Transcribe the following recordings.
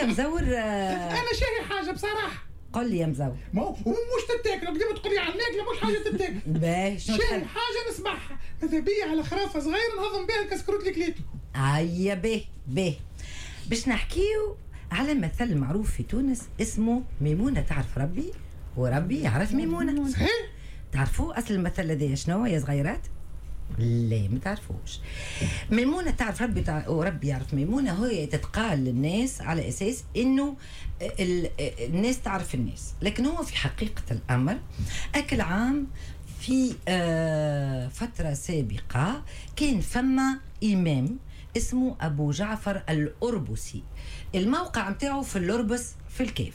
يا مزور. انا شاهي حاجة بصراحة. قل لي يا مزور. ما هو مش تتاكل، ديما تقول لي على الماكلة مش حاجة تتاكل. باهي شنو شاهي تحب؟ حاجة نسمعها، ماذا بيا على خرافه صغيرة نهضم بها الكسكروت اللي كليته. هيا باهي باهي، باش نحكيو على مثل معروف في تونس اسمه ميمونة تعرف ربي وربي يعرف ميمونة. صحيح. تعرفوا اصل المثل هذا شنو يا صغيرات؟ لا ما تعرفوش. ميمونة تعرف ربي وربي يعرف ميمونة، هي تتقال للناس على أساس إنه الناس تعرف الناس، لكن هو في حقيقة الأمر أكل عام في فترة سابقة كان فما إمام اسمه أبو جعفر الأربسي، الموقع متاعه في الأربس في الكاف.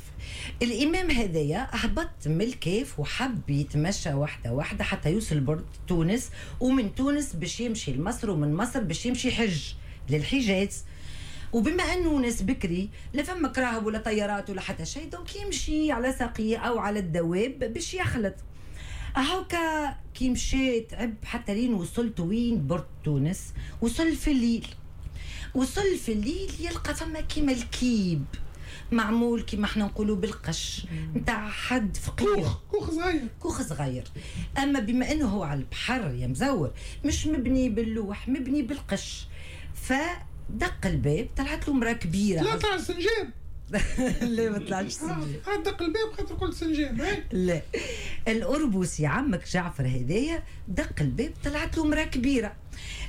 الإمام هذايا هبط من الكاف وحب يتمشى واحدة واحدة حتى يوصل برد تونس، ومن تونس باش يمشي لمصر، ومن مصر باش يمشي حج للحجاز. وبما أنه ناس بكري لا فما كراهب ولا طيارات ولا حتى شيء، donc يمشي على ساقيه أو على الدواب باش يخلط. هاكا كي مشى تعب حتى لين وصلت وين برد تونس، وصل في الليل. وصل في الليل يلقى فما كيما الكيب معمول كيما احنا نقولوا بالقش نتاع حد فقير، كوخ صغير، كوخ صغير. اما بما انه هو على البحر يا مزور مش مبني باللوح، مبني بالقش. فدق الباب، طلعت له امراة كبيرة. لا طلع سنجاب. لا ما طلعش سنجاب. دق الباب خاطر قلت سنجاب. لا الأربوسي عمك جعفر هذايا دق الباب، طلعت له امراة كبيرة.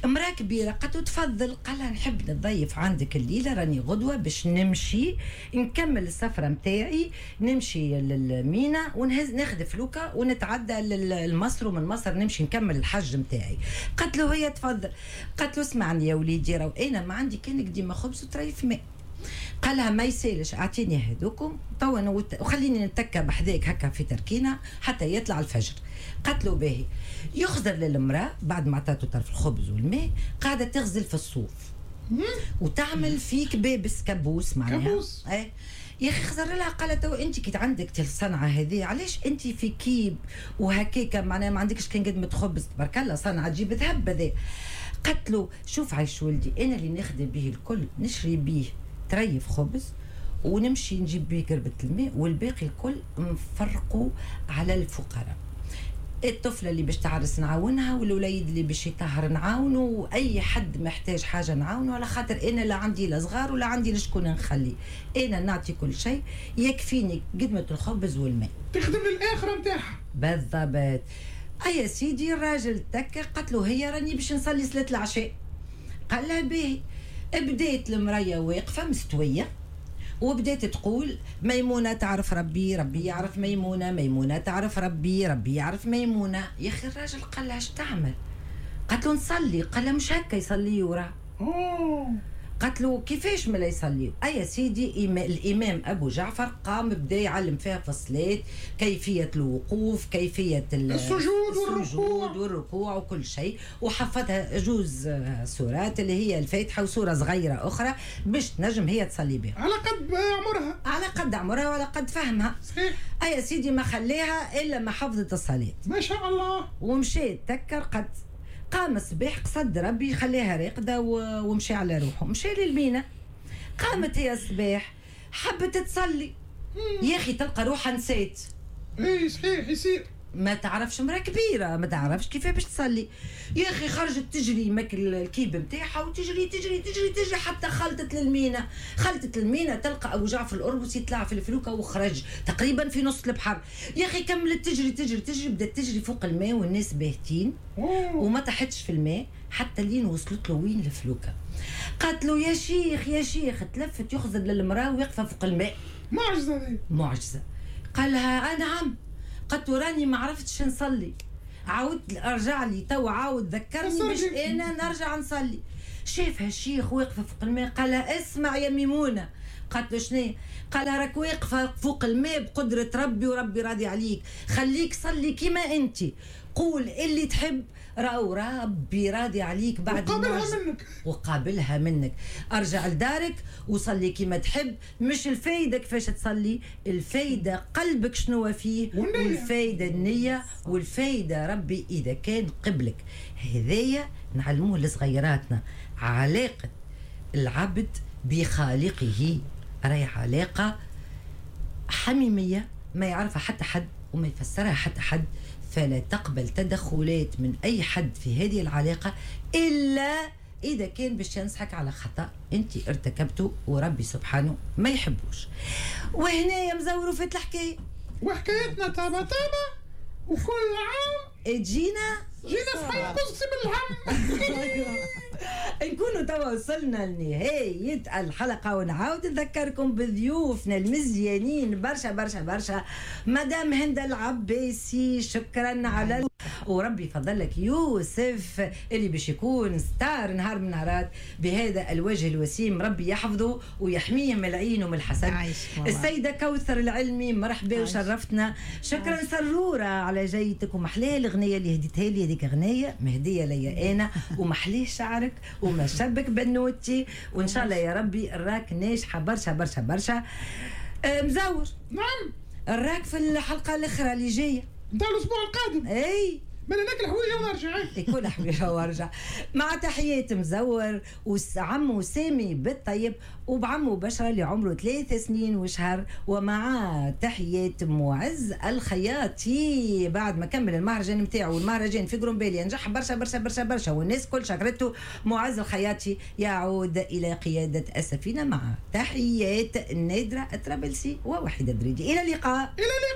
امراة كبيرة قالت له تفضل. قال لها نحب نتضيف عندك الليلة، راني غدوه باش نمشي نكمل السفرة نتاعي، نمشي للمينا ونهز ناخذ فلوكه ونتعدى لمصر، ومن مصر نمشي نكمل الحج نتاعي. قالت له هي تفضل. قالت له اسمعني يا وليدي، راهو انا ما عندي كان ديما خبز وطريف ماء. قالها ما يسالش، اعطيني هذوكم توا وخليني نتكى بحذاك هكا في تركينه حتى يطلع الفجر. قالت له باهي. يخزر للمراة بعد ما عطاته طرف الخبز والماء، قاعدة تغزل في الصوف وتعمل في كبابس كابوس معناها. كابوس. ايه يا اخي خزر لها قالت تو انت كي عندك الصنعة هذه علاش انت في كيب وهكاكا معناها ما عندكش كان قدمه خبز، تبارك الله صنعه تجيب ذهب هذا. قالت له شوف عايش ولدي، انا اللي نخدم به الكل نشري به تريف خبز ونمشي نجيب بيه قربة الماء، والباقي الكل نفرقوا على الفقراء. الطفلة اللي باش تعرس نعاونها، والوليد اللي باش يطهر نعاونه، وأي حد محتاج حاجة نعاونه، على خاطر أنا لا عندي لا صغار ولا عندي لشكون نخلي، أنا نعطي كل شيء يكفيني قدمة الخبز والماء. تخدم للآخرة نتاعها بالضبط. أي سيدي الراجل تكا، قالت له هي راني باش نصلي صلاة العشاء. قال لها باهي. بدات المراية واقفة مستوية وبدات تقول ميمونة تعرف ربي، ربي يعرف ميمونة، ميمونة تعرف ربي، ربي يعرف ميمونة. يا اخي الراجل قال لها اش تعمل؟ قالت له نصلي. قال لها مش هكا يصلي وراه. قالت له كيفاش ما لا يصلي؟ اي سيدي الامام ابو جعفر قام بدا يعلم فيها في الصلاة كيفية الوقوف، كيفية السجود والركوع وكل شيء، وحفظها جوز سورات اللي هي الفاتحة وسورة صغيرة اخرى باش تنجم هي تصلي بها على قد عمرها، على قد عمرها وعلى قد فهمها. صحيح. اي سيدي ما خليها الا ما حفظت الصلاة ما شاء الله. ومشيت تكر قد قام الصباح قصد ربي خليها راقده ومشي على روحه، مشي للمينا. قامت هي الصباح حبت تصلي، يا اخي تلقى روحها نسيت. اي صحيح يصير، ما تعرفش مرأة كبيرة ما تعرفش كيف باش تصلي. يا اخي خرجت تجري ماكل الكيب نتاعها وتجري تجري تجري تجري حتى خلطت للمينا. خلطت للمينا تلقى ابو جعفر الأربسي طلع في الفلوكه وخرج تقريبا في نص البحر. يا اخي كملت تجري تجري تجري، بدات تجري فوق الماء والناس باهتين وما طاحتش في الماء حتى لين وصلت له وين الفلوكه. قالت له يا شيخ يا شيخ، تلفت يخزر للمراة واقفة فوق الماء. معجزه دي معجزه. قال لها نعم. قالت له راني ما عرفتش نصلي، عاود ارجع لي تو، عاود ذكرني باش انا نرجع نصلي. شافها الشيخ واقفة فوق الماء، قال لها اسمع يا ميمونة. قالت له شنو؟ قال لها راك واقفة فوق الماء بقدره ربي وربي راضي عليك، خليك صلي كيما انت، قول اللي تحب، راهو ربي راضي عليك بعد وقابلها منك، وقابلها منك. ارجع لدارك وصلي كيما تحب، مش الفايدة كيفاش تصلي، الفايدة قلبك شنو فيه، والفايده النية، والفايده ربي اذا كان قبلك. هذايا نعلموه لصغيراتنا، علاقة العبد بخالقه. راهي علاقة حميمية ما يعرفها حتى حد وما يفسرها حتى حد، فلا تقبل تدخلات من اي حد في هذه العلاقة الا اذا كان باش ينصحك على خطا انت ارتكبته وربي سبحانه ما يحبوش. وهنا يا مزور وفات الحكاية. وحكايتنا طابة طابة، وكل عام تجينا جينا صحيح كسكسي باللحم. نكونوا توا وصلنا لنهاية الحلقة، ونعاود نذكركم بضيوفنا المزيانين برشا برشا برشا. مدام هند العباسي، شكرا على وربي يفضل لك يوسف اللي باش يكون star نهار من نهارات بهذا الوجه الوسيم، ربي يحفظه ويحميه من العين ومن الحسد. السيدة كوثر العلمي، مرحبا وشرفتنا. شكرا سرورة على جيتك، ومحلاه الأغنية اللي هديتها لي، هذيك أغنية مهدية ليا أنا، ومحليه شعرك وما شبك بنوتي، وإن شاء الله يا ربي راك ناجحة برشا برشا برشا. مزور. نعم. راك في الحلقة الأخرى اللي جاية نتاع الأسبوع القادم. أي من ناكل حويجه ونرجع. يكون حويجه وارجع. مع تحيات مزور وعمو سامي بالطيب وبعمو بشرى اللي عمره 3 سنين وشهر، ومع تحيات معز الخياطي بعد ما كمل المهرجان نتاعو، والمهرجان في قرمبالية نجح برشا برشا برشا برشا والناس كل شكرته. معز الخياطي يعود الى قيادة السفينه. مع تحيات نادرة الطرابلسي ووحيده دريدي، الى اللقاء. الى اللقاء.